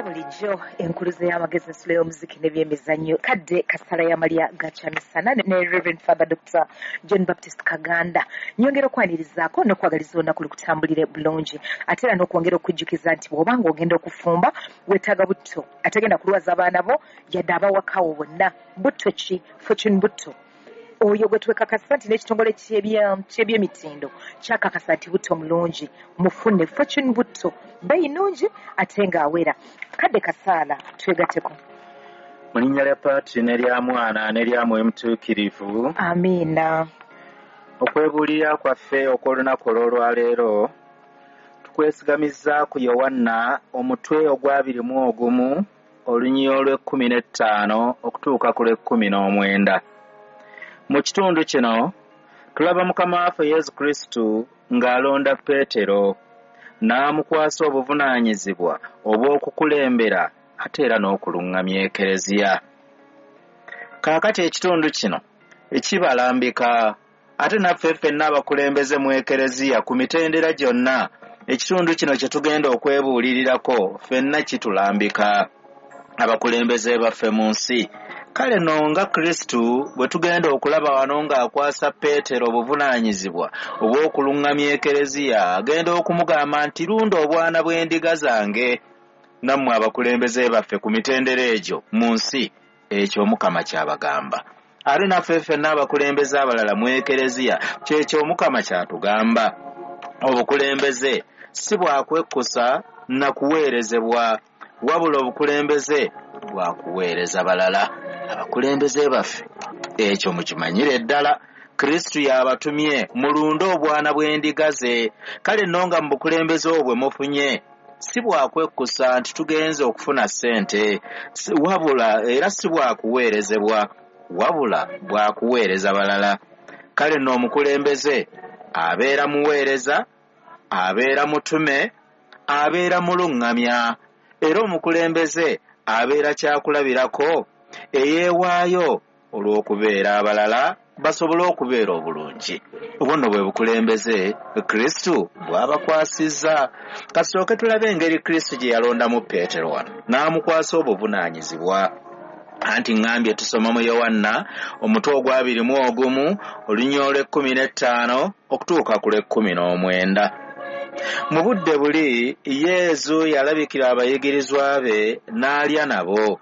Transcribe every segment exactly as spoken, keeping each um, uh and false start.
Nga bulijjo enkuluze y'amagezi, ensulo y'omuziki n'ebyemizannyo, kadde kasala y'amalya gakyamisana ne Reverend Father Doctor John Baptist Kaganda. Nyongera okwanirizaako n'okwagaliza olunaku lukutambulire bulungi, ate era n'okwongera okujjukiza nti bw'obanga ogenda okufumba weetaaga butto ategenda kulwaza abaana bo yadde abawakawo bonna. Butto ki? Fortune butto oyo gwe twekakasa nti n'ekitongole ky'ebyemitindo kyakakasa nti butto mulungi. Mufune Fortune butto, bbeeyi nnungi ate ng'awera. Kadde kasaala twegatteko. Mu linnya lya Patri n'erya Mwana n'erya Mwoyo Mutuukirivu. Amiina. Okwebuulira kwaffe okw'olunaku olw'olwaleero tukwesigamizza ku Yowanna omutwe ogw'abiri mu ogumu olunyiriri olw'ekkumi n'ettaano okutuuka ku lw'ekkumi n'omwenda. Mu kitundu kino tulaba Mukama waffe Yesu Kristu ng'alonda Peetero n'amukwasa obuvunaanyizibwa obw'okukulembera ate era n'okuluŋŋamya Ekereziya. Kaakati ekitundu kino ekibalambika ate naffe ffenna abakulembeze mu Ekereziya ku mitendera gyonna, ekitundu kino kye tugenda okwebuulirirako ffenna kitulambika abakulembeze baffe mu nsi. Kale nno nga Kristu bwe tugenda okulaba wano ng'akwasa Peetero obuvunaanyizibwa obw'okuluŋŋamya Ekereziya, agenda okumugamba nti lunda obwana bw'endiga zange. Nammwe abakulembeze baffe ku mitendera egyo mu nsi, ekyo Omukama ky'abagamba. Ate naffe ffenna abakulembeze abalala mu Ekereziya, kyekyo Omukama ky'atugamba. Obukulembeze si bwa kwekkusa na kuweerezebwa, wabula obukulembeze bwa kuweereza balala. Abakulembeze baffe ekyo mukimanyire ddala, Kristu y'abatumye mulunde obwana bw'endiga ze. Kale nno nga mu bukulembeze obwe mufunye si bwakwekkusa nti tugenze okufuna ssente, wabula era si bwakuweerezebwa, wabula bwakuweereza balala. Kale nno omukulembeze abeera muweereza, abeera mutume, abeera muluŋŋamya, era omukulembeze abeera kyakulabirako eyeewaayo olw'okubeera abalala basobole okubeera obulungi. Obwo nno bwe bukulembeze Kristu bw'abakwasizza. Kasooke tulabe engeri Kristu gye yalondamu Peetero wano n'amukwasa obuvunaanyizibwa. Anti ŋŋambye tusoma mu Yowanna omutwe ogw'abiri mu ogumu olunyiriri olw'ekkumi n'ettaano okutuuka ku lw'ekkumi n'omwenda. Mu budde buli Yesu yalabikira abayigirizwa be n'alya nabo,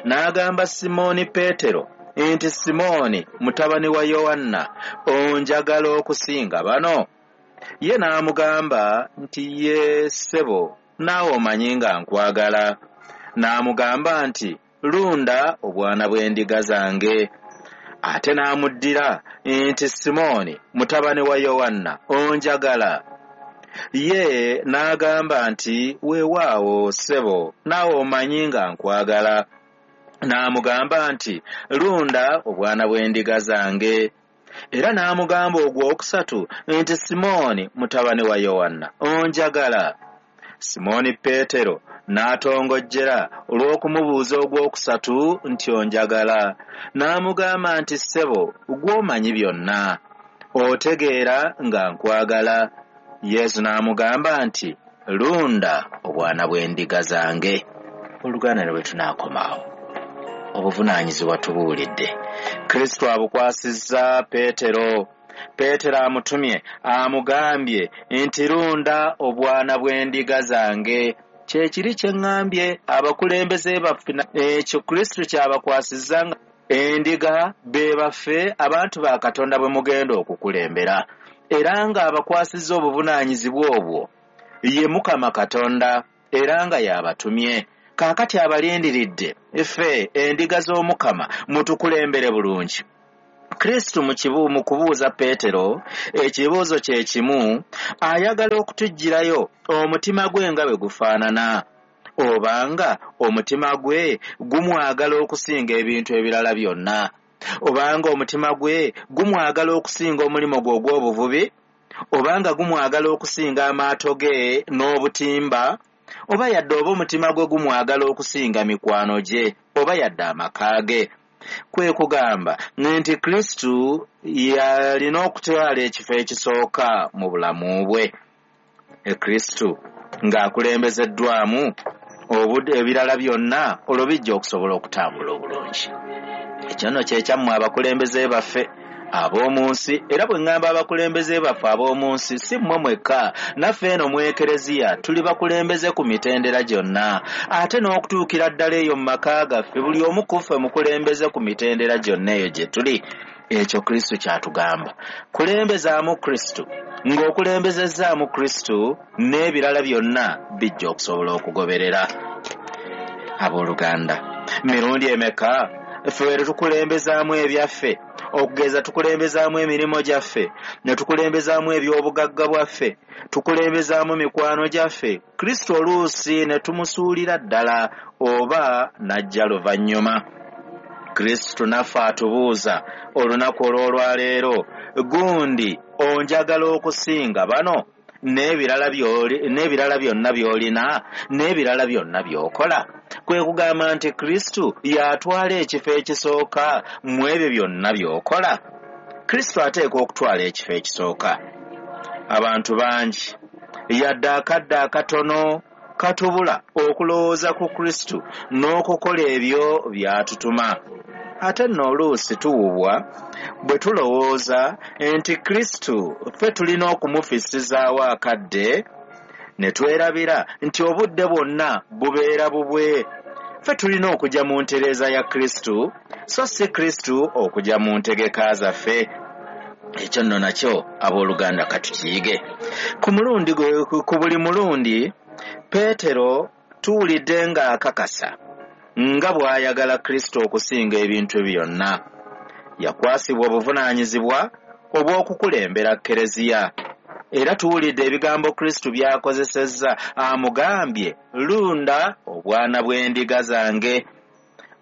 n'agamba Simooni Peetero nti, Simooni mutabani wa Yowanna, onjagala okusinga bano? Ye n'amugamba nti, ye ssebo, naawe omanyi nga nkwagala. N'amugamba nti, lunda obwana bw'endiga zange. Ate n'amuddira nti, Simooni mutabani wa Yowanna, onjagala? Ye n'agamba nti, weewaawo ssebo, naawe omanyi nga nkwagala. N'amugamba nti, lunda obwana bw'endiga zange. Era n'amugamba ogwokusatu nti, Simooni mutabani wa Yowanna, onjagala? Simooni Peetero n'atongojjera olw'okumubuuza ogwokusatu nti, onjagala? N'amugamba nti, ssebo, gw'omanyi byonna, otegeera nga nkwagala. Yesu n'amugamba nti, lunda obwana bw'endiga zange. Oluganda ne bwe tunaakomaawo, obuvunaanyizibwa tubuulidde. Kristo abukwasizza Peetero. Peetero amutumye, amugambye nti, lunda obwana bw'endiga zange. Kye kiri kye ŋŋambye abakulembeze baffe, ekyo Kristo kyabakwasizza nga endiga be baffe, abantu ba Katonda bwe mugenda okukulembera, era ng'abakwasizza obuvunaanyizibwa obwo ye Mukama Katonda, era nga y'abatumye. Kaakati abalindiridde ffe endiga z'Omukama mutukulembere bulungi. Kristo mu kibu mu kubuuza Peetero ekibuuzo kye kimu, ayagala okutuggyirayo omutima gwe nga bwe gufaanana, obanga omutima gwe gumwagala okusinga ebintu ebirala byonna, obanga omutima gwe gumwagala okusinga omulimu gwe ogw'obuvubi, obanga gumwagala okusinga amaato ge n'obutimba, oba yadde oba omutima gwe gumwagala okusinga mikwano gye, oba yadde amaka ge. Kwe kugamba nti Kristu yalina okutwala ekifo ekisooka mu bulamu bwe. E Kristu ng'akulembezeddwamu Obudde ebirala byonna olwo bijja okusobola okutambula obulungi. Ekyo nno kye kyammwe abakulembeze baffe ab'omu nsi. Era bwe ŋŋamba abakulembeze baffe ab'omu nsi, si mmwe mwekka, naffe eno mu Ekereziya tuli bakulembeze ku mitendera gyonna, ate n'okutuukira ddala eyo mu maka gaffe buli omu ku ffe mukulembeze ku mitendera gyonna eyo gye tuli. Ekyo Kristo ky'atugamba, kulembezaamu Kristo. Ng'okulembezezzaamu Kristo, n'ebirala byonna bijja okusobola okugoberera. Abooluganda, mirundi emeka ffe tukulembezaamu ebyaffe? Okugeza tukulembezaamu emirimu gyaffe, ne tukulembezaamu eby'obugagga bwaffe, tukulembezaamu mikwano gyaffe. Kristo oluusi ne tumusuulira ddala oba n'ajja luvannyuma. Kristo naffe atubuuza olunaku olw'olwaleero, gundi onjagala okusinga bano n'ebirala by'oli n'ebirala byonna by'olina n'ebirala byonna by'okola? Kwe kugamba nti Kristo y'atwala ekifo ekisooka mu ebyo byonna by'okola. Kristo ateekwa okutwala ekifo ekisooka. Abantu bangi yadde akadde akatono katubula okulowooza ku Kristo n'okukola ebyo by'atutuma. Ate nno oluusi tuwubwa bwe tulowooza nti Kristo ffe tulina okumufissizaawo akadde, ne twerabira nti obudde bwonna bubeera bubwe. Ffe tulina okujja mu ntereeza ya Kristo, so si Kristo okujja mu ntegeka zaffe. Ekyo nno nakyo abooluganda katukiyige. Ku mulundi ku buli mulundi Peetero tuwulidde ng'akakasa nga bw'ayagala Kristo okusinga ebintu byonna. Yakwasibwa obuvunaanyizibwa obw'okukulembera Kereziya. Era tuwulidde ebigambo Kristo by'akozesezza, amugambye, lunda obwana bw'endiga zange.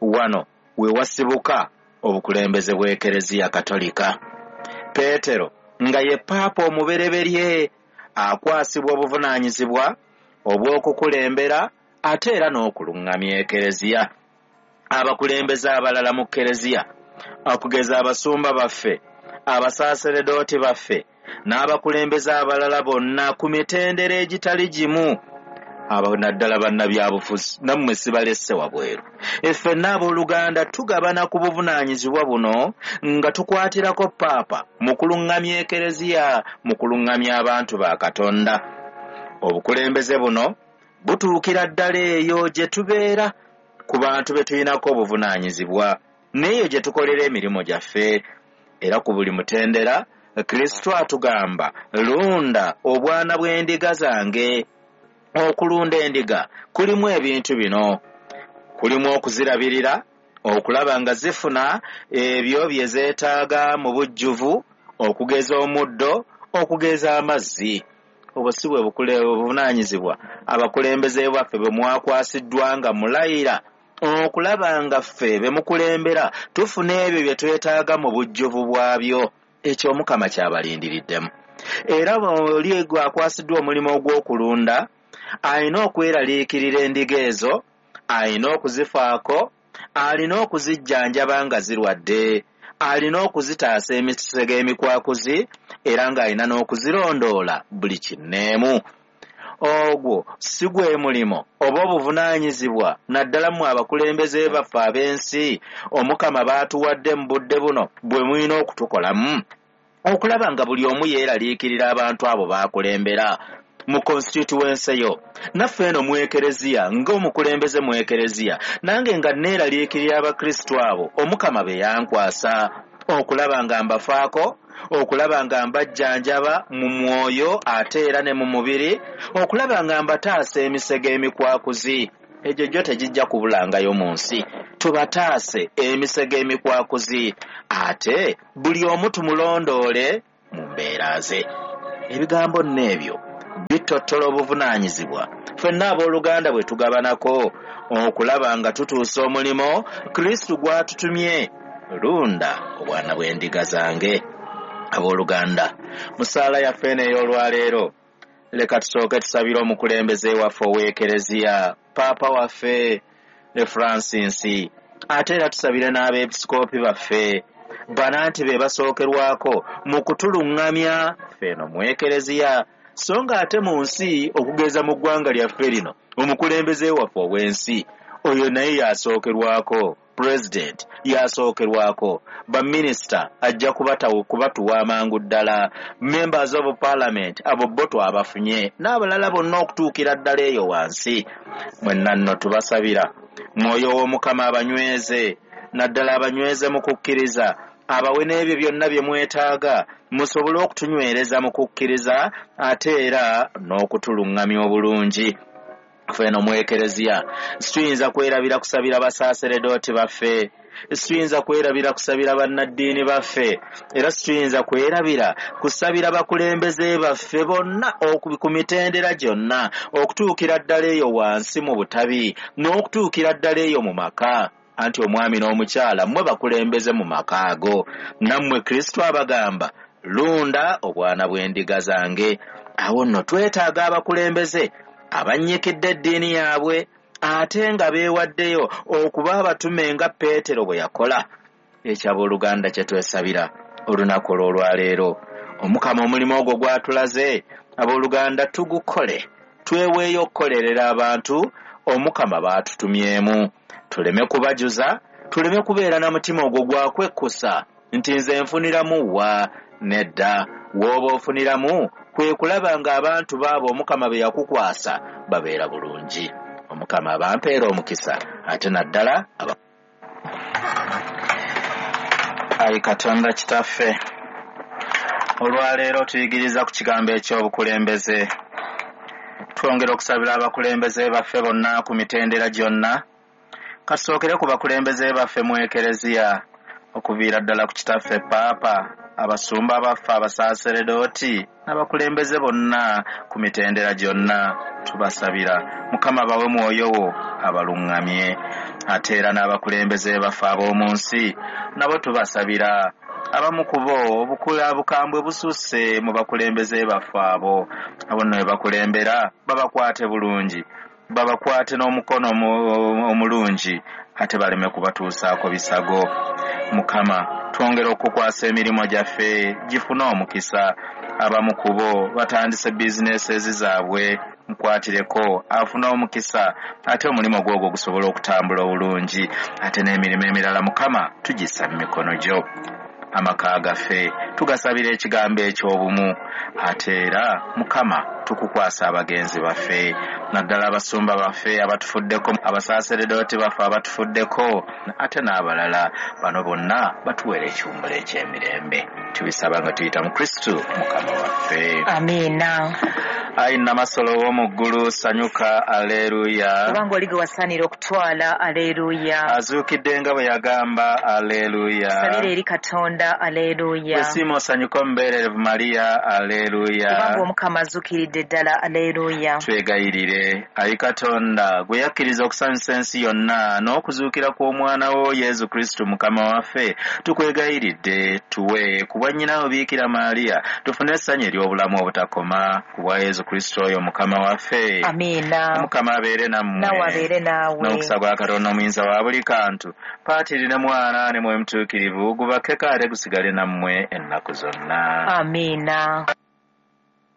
Wano we wasibuka obukulembeze bw'Ekereziya Katolika. Peetero nga ye Paapa omubereberye akwasibwa obuvunaanyizibwa obw'okukulembera ate era n'okuluŋŋamya Ekereziya. Abakulembeze abalala mu Kereziya, okugeza abasumba baffe, abasaaseredooti baffe, n'abakulembeze abalala bonna ku mitendera egitali gimu, abo naddala bannabyabufuzi, nammwe sibalesse wabweru. Ffenna abooluganda tugabana ku buvunaanyizibwa buno nga tukwatirako Paapa mu kuluŋŋamya Ekereziya, mu kuluŋŋamya abantu ba Katonda. Obukulembeze buno butuukira ddala eyo gye tubeera ku bantu be tulinako obuvunaanyizibwa n'eyo gye tukolera emirimu gyaffe. Era ku buli mutendera Kristo atugamba, lunda obwana bw'endiga zange. Okulunda endiga kulimu ebintu bino: kulimu okuzirabirira, okulaba nga zifuna ebyo bye zeetaaga mu bujjuvu, okugeza omuddo, okugeza amazzi. Obwo si bwe buvunaanyizibwa abakulembeze baffe bwe mwakwasiddwa nga mulayira okulaba nga ffe be mukulembera tufuna ebyo bye twetaaga mu bujjuvu bwabyo. Ekyo Omukama kyabalindiriddemu. Era oli akwasiddwa omulimu ogw'okulunda alina okweraliikirira endiga ezo, alina okuzifaako, alina okuzijjanjaba nga zirwadde, alina okuzitaasa emisege emikwakuzi, era ng'alina n'okuzirondoola buli kinneemu. Ogwo si gwe mulimo oba obuvunaanyizibwa naddala mmwe abakulembeze baffe ab'ensi Omukama baatuwadde mu budde buno bwe mulina okutukolamu, okulaba nga buli omu yeeraliikirira abantu abo baakulembera mu constituency yo. Naffe eno mu Ekereziya, ng'omukulembeze mu Ekereziya, nange nga neeraliikirira Abakristo abo Omukama be yankwasa, okulaba nga mbafaako, okulaba nga mbajjanjaba mu mwoyo ate era ne mu mubiri, okulaba nga mbataasa emisege emikwakuzi. Egyo gyo tegijja kubulangayo mu nsi. Tubataase emisege emikwakuzi, ate buli omu tumulondoole mu mbeera ze. Ebigambo nno ebyo bitottola obuvunaanyizibwa ffenna abooluganda bwe tugabanako okulaba nga tutuusa omulimu Kristo gw'atutumye, lunda obwana bw'endiga zange. Abooluganda, mu ssaala yaffe eno ey'olwaleero, leka tusooke tusabire omukulembeze waffe ow'Ekereziya, Paapa waffe ne Francis, ate era tusabire n'abeepisikoopi baffe bana nti be basookerwako mu kutuluŋŋamya ffe eno mu Ekereziya, so nga ate mu nsi okugeza mu ggwanga lyaffe lino Omukulembeze waffe ow'ensi oyo naye yasookerwako, president yasookerwako, baminisita ajja kubatawo kubatuwa amangu ddala, members of parliament abo bo twabafunye n'abalala bonna okutuukira ddala eyo wansi. Mwenna nno tubasabira mwoyo w'Omukama abanyweze, naddala abanyweze mu kukkiriza, abawe n'ebyo byonna bye mwetaaga musobole okutunywereza mu kukkiriza ate era n'okutuluŋŋamya obulungi. Ffe eno mu Ekereziya situyinza kwerabira kusabira basaaseredooti baffe, situyinza kwerabira kusabira bannaddiini baffe, era situyinza kwerabira kusabira bakulembeze baffe bonna ku mitendera gyonna, okutuukira ddala eyo wansi mu butabi n'okutuukira ddala eyo mu maka. Anti omwami n'omukyala mmwe bakulembeze mu maka ago, nammwe Kristo abagamba lunda obwana bw'endiga zange. Awo nno twetaaga abakulembeze abannyikidde eddiini yaabwe ate nga beewaddeyo okuba abatume nga Peetero bwe yakola. Ekyabooluganda kye twesabira olunaku olw'olwaleero, Omukama omulimu ogwo gw'atulaze, abooluganda tugukole, tweweeyo okukolerera abantu Omukama baatutumyemu. Tuleme kubajuza, tuleme kubeera na mutima ogwo gwa kwekkusa nti nze nfuniramu wa, nedda. W'oba ofuniramu kwe kulaba ng'abantu baabo Omukama be yakukwasa babeera bulungi. Omukama abampeera omukisa ate naddala aba. Ayi Katonda Kitaffe, olwaleero tuyigiriza ku kigambo eky'obukulembeze. Twongera okusabira abakulembeze baffe bonna ku mitendera gyonna. Kasookere ku bakulembeze baffe mu Ekereziya, okuviira ddala ku Kitaffe Paapa, abasumba baffe abasaaseredooti n'abakulembeze bonna ku mitendera gyonna. Tubasabira Mukama bawe mwoyo wo abaluŋŋamye. Ate era n'abakulembeze baffe ab'omu nsi nabo tubasabira. Abamu ku bo obukambwe bususse mu bakulembeze baffe abo. Abo nno be bakulembera babakwate bulungi, babakwate n'omukono omulungi, ate baleme kubatuusaako bisago. Mukama twongera okukwasa emirimu gyaffe gifune omukisa. Abamu ku bo batandise bizinesi zaabwe, mukwatireko afune omukisa ate omulimu gwogwo gusobole okutambula obulungi. Ate n'emirimu emirala Mukama tugissa mu mikono gyo. Amaka gaffe tugasabira ekigambo eky'obumu, ate era Mukama tukukwasa abagenzi baffe, naddala abasumba baffe abatufuddeko, abasaaseredooti baffe abatufuddeko, ate n'abalala. Bano bonna batuweere ekiwummulo eky'emirembe. Tubisaba nga tuyita mu Kristo Mukama waffe. Amiina. Ayi Namasolo w'omu ggulu, sanyuka, aleluya. Kubanga oli gwe wasaanira okutwala, aleluya. Azuukidde nga bwe yagamba, aleluya. Tusabire eri Katonda, aleluya. Wesiima osanyuka omubeererevu Mariya, aleluya. Kubanga Omukama azuukiridde ddala, aleluya. Twegayirire. Ayi Katonda, gwe yakkiriza okusanyusa ensi yonna n'okuzuukira kw'omwana wo Yesu Kristo Mukama waffe, tukwegayiridde tuwe ku bwa nnyina wo Biikira Mariya tufune essanyu ery'obulamu obutakoma ku bwa Yesu Kristo oyo Mukama waffe. Amiina. Omukama abeere nammwe. Nawe abeere naawe. N'omukisa gwa Katonda omuyinza wa buli kantu, Patiri ne Mwana ne Mwoyo Mutuukirivu, gubakeko ate gusigale nammwe ennaku zonna. Amiina.